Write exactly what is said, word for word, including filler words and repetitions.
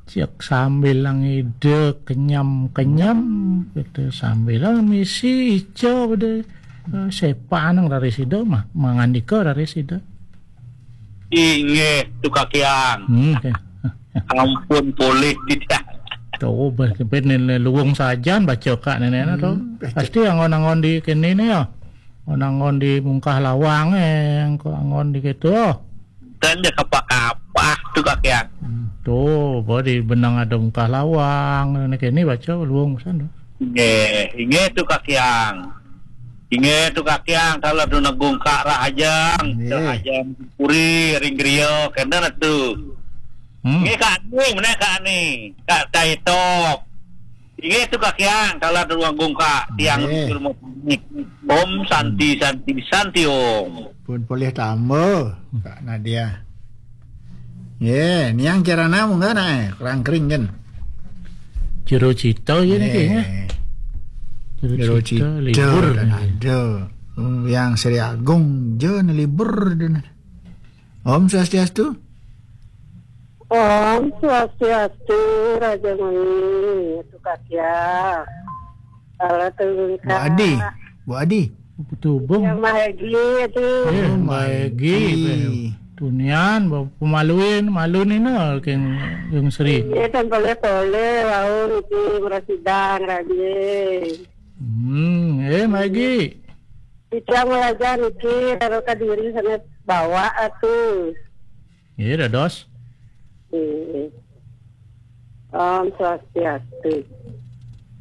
Cek sambil ngida kenyam-kenyam gitu, sambil misi ica bade, eh, sepa nang raris ida mah, mangandika raris ida. Inggih, tu Kakiang. Hmm, oke. Ampun polih tidak. Tuh, ben, ben luwung sajan baca kak nenekna tuh. Hmm, baca. Pasti anggon-anggon di kene ne ya. Anggon-anggon di mungkah lawang, eh, anggon di gitu. Kan dia kapah-kapah tu Kakiang. Hmm, tuh, apa di benang ada mungkah lawang, ne kene baca luwung pisan tuh. Inggih, inggih tu Kakiang. Inggih tu Kakiang, kalau tu negung kak rahajang, inggih. Rahajang puri, ring griya, kena tu. Hmm. Inggih kak ni, mana kak ni? Kak Taitop. Inggih tu Kakiang, kalau tu negung kak, tiang, inggih. Rumah panik. Om Santi, hmm. Santi, Santi Om. Pun polih tamba, Kak Nadia. Ye, niang kirana munggah nak, eh, kurang kering kan. Jero cita ye niki, ye. Jero cita, libur kan ada. Hmm, yang Sri Agung je ne libur dene. Om Swastiastu. Om Swastiastu, Raja Muni, tukak ya. Salah turun. Bu Adi, Bu Adi. Betul bung. Yang Mahegi itu. Eh, oh, Mahegi. Mahegi. Tunian, pemaluin, malu ni na, keng, keng Sri. Ini kan boleh-boleh, wau niki merasidang, Raja. Hmm, eh, Mahegi. Kita melajar niki, taruh ke diri sana bawa atuh. Iya, dados. Iya. Om Swastiastu.